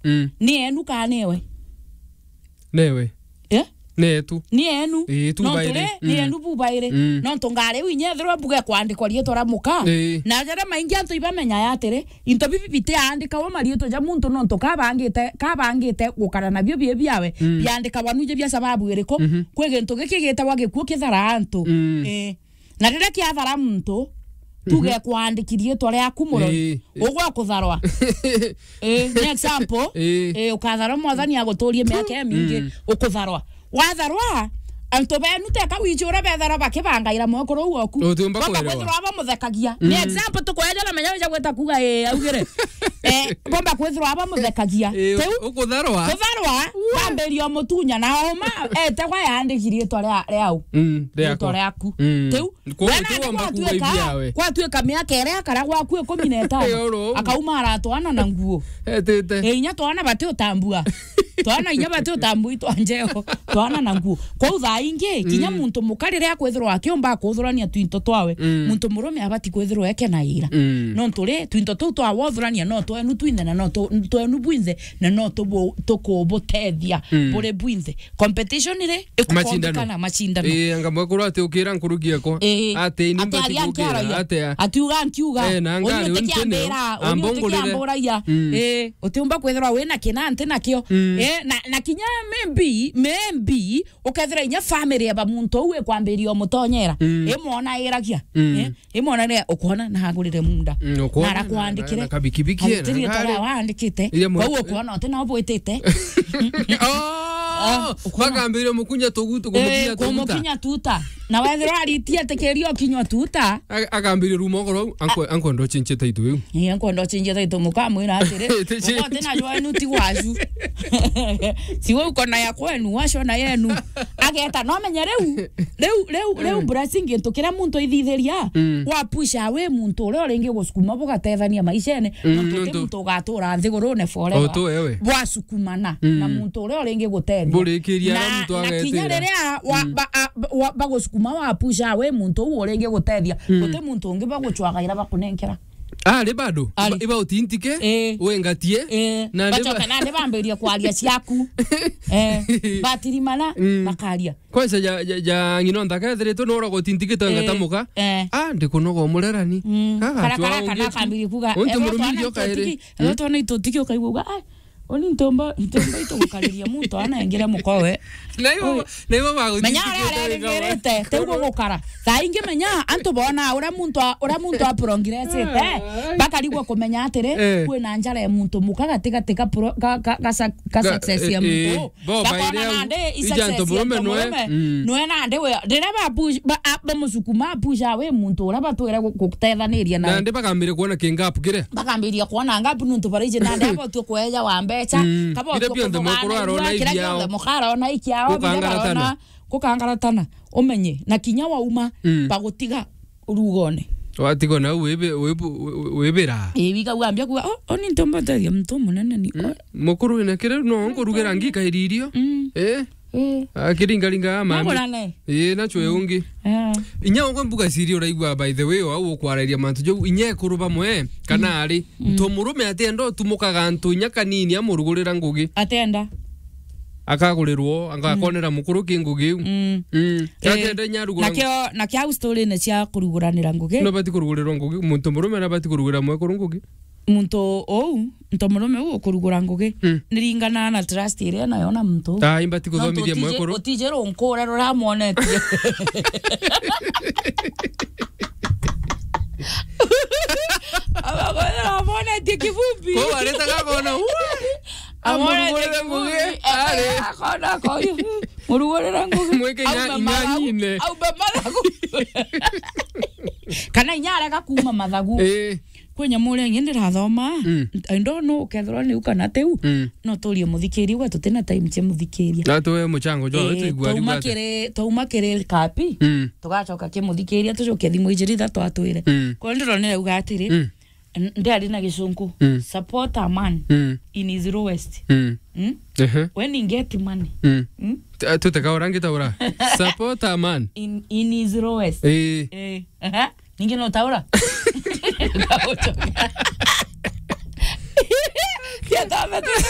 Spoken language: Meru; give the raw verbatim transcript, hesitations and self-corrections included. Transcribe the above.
Mm. Ni enu kana newe? Newe. Eh? Ni etu. Ni enu. Ii, tu. Nontu bairi. Ri, ni enu bu bairi. Mm. Nontu ngari u inya ethirwa mbuga kwandikwa riitwa ria muka. Ii. Na jaria maingi antu ibamenya ya atiri, into bibi bitiandikagwa mariitwa ja muntu nontu kabangite, kabangite gukara nabio bie biawe, mm, biandikagwa nuje bia sababu iriku? Mhm. Kwi gintu giki gitagwa gikuu kithara antu. Mm. Ii. Na riria kiathara muntu, tuge, mhm, kwandiki riitwa riaku muroi, ii, ugwa kutharwa. Ii, ni example. Ii. Ii, ukatharwa mwathani aguturie miaka imingi, mm, ukutharwa. Watharwa, antu benu teka wiji uria betharwa bakibangaira mwekuru uu oku. Utiumba kwithirwa bamuthekagia. Ni, mm, example tukweja na menya wija gwita kuga, ii, augire. Eh, bomba kwithirwa bamuthekagia. Ii, tiu ukutharwa. Kutharwa, bambiria umutunya na oma, etegwa yandiki riitwa ria, ria u. Mm, riaku. Riitwa riaku. Mm. Tiu, Kwa-, wena ati wamba kuga gwatuika, ibiawe. Gwatuika miaka iria akara gwaku ikumi na itano, oro. Akauma aratwana na nguo. Etite. E, inya twana bati utambua. Twana inya bati utambua itwa njeo. Twana na nguo. Kwou thaa ingi, kinya, mm, muntu muka riria akwithirwa akiumba kuthurania twinto twawe, mm, muntu murume abati kwithirwa eke na ira. Mm. Nontu ri, twinto tuu twawothurania no twenu twinthe na no tu-, twenu bwinthe na no tubu-, tukubutethia, mm, buri bwinthe. Competition ri, ikukondekana macindano. Ii, anga mwekuru ati ukira nkuruki ekwa. Ii. Ati ni ati mbati aria gukira, nkiaragia. Ati a- ati uga nkiuga. Eh, na uni ngari, uni utikiambira, uni ambongorere. Utikiamburagia. Mm. Ii, utiumba kwithirwa wina kina nti nakio. Mm. Ii, na, na kinya maybe, maybe, ukethira inya family ya ba muntu uu ikwambiria umutonyera. Mm. Imwona iragia. Mm. Ii, Imwona ria ukwona na agurire munda. Mm, ukwona na, na, arakwandikire. Na kabikibiki, na agutiri ngari. Tore wandikite. Iria mwe- Kwou ukwona uti na ubwitite. Oh, ah, ukwona. Bakambire mukunya tugutu, eh, kumukinya tugutu. Kumukinya tuta. Na wethirwa aritie atikiria ukinywa tuta. A-, akambire ruma ugoro, anko, anko ndochinchie taitu iu. Ii, anko ndochinchie taitu mukamwira atiri, iti chi- uko uti na jwenu ti gwacu. Si we uko na ya kwenu, wacio na yenu. Ageta, no menye riu, riu, riu, riu, mm, blessing gintu kiria muntu ithithiria, mm, wa push away muntu uria uringi gusukuma bugatethania maishene, mm, nontu ti nontu muntu ugatura nthigurune forever. O tu ewe. Bwasukumana, mm, na muntu uria uringi gutethia. Burikiria na, na muntu na kinya agetira. Riria wa, mm, ba, a, ba, wa, bagusukuma wa push away muntu uu uringi gutethia, mm, guti muntu ungi baguchwagaira bakunenkera. Ari bado? Ari. Iba, iba utintike, eh, wengatie, eh, na bacoka nandi bambirie kwaria ciaku. Eh, batirimana, mm, bakaria. Kwanza ja, ja, ja ng'ino nthaka ethiritwe nora gutintikite wengata muka. Eh. Ah, ndikunoga umurerani. Mm. Kara, kara, kana akambiri kuga, unti murumi ndio kairi. Ethirwa twana itutiki ukaigua uga, ai, Uni ntomba, ntomba itugukariria muntu ana engire mukowe. Na ibo, oi, na ibo bagutindikite. Menya aria arerigirite, tiu gugukara. Thaa ingi menya, antu bona uria muntu a-, uria muntu aprongresete, bakarigwa kumenya atiri, eh, kwina njara ya muntu muka gati gati ga pro-, ga, ga, ga suc-, ga success ya muntu. Bo bakona baire au, nandi i ija success ya ntomurume nwe, ntomurume, mm, nwe nandi we, riria ba push, ba, a, bamusukuma push away muntu uria batwire gu-, gutethaniria nawe. Nandi bakambire kuona ki gap kiria. Bakambiria kuona gap nuntu baraiji nandi abotue kweja wa mbecha, mm, kabotue biria bionthe mukuru arona ikiao. Kiria gionthe mukara ona ikiao, biria barona, gukangaratana, gukangaratana. Umenye, na kinya wauma, mm, bagutiga rugone. Watigwa nau wibi-, wibu-, wi-, wibira. Ii, wigagua ambia kuga, "Oh, oh, ni ntomba nteethia muntu munene ni." Mm. Oh. Mukuru wina kiri, no nkurugira ngikairi irio. Mm. Eh? Eh. Akiringaringa ya mami. Nagurane. Ii, nacho ungi. Eh. Inya ugwe mbuga siri uraigua, by the way, au ukwararia mantu jau, inya ekuru bamwe, kana ari, mm, nto murume atienda utumukaga antu inya kanini amurugurira ngugi. Atienda. Akagurirwo, anga-, mm, akonera mukuru ki ngugi iu. Mm. Mm. Eh, atienda inya arugura nakio, nakio au story-ini cia kuruguranira ngugi. No bati kurugurirwa ngugi, muntu murume na bati kurugugira mwekuru ngugi. Muntu uu, nto murume uu ukurugura ngugi, mm, niringana na trust iria nayo na muntu uu. Ah, imbati kuthomithia mwekuru. Nontu utiji-, utiji runkure ruramwonetie. Amonetie kivumbi. Ko aretaga kona, uu, amwonetie amurugurire ngugi, kivumbi, ari. Akona koyu. Murugurire ngugi. Mwike inya-, aume mathagu, inyanyine. Aume mathagu. Kana inya arega kuuma mathagu. Ii. Kwi nyamu uria ingi ndirathoma, mm, I don't know ukethirwa niu kana tiu, mm, no turie muthikiria, gwe tutina time cia muthikiria. Na tuwe muchango jwa, eh, tuigua twauma riu ati kiri, twauma kiri kapi, mm, tugacoka ki muthikiria, tucoke thimu ijiri ithatu atwire. Mm. Kwou ndironire auga atiri, mm, n-, ndiari na gicunku, mm, support a man, mm, in his lowest. Mm. Mm? Ehe. When he get money. Mm. Mm? T-, tuteka ura ngitaura. Support a man. In, in his lowest. Eh. Eh. Aha. Ningi no taura. Kia tome tu.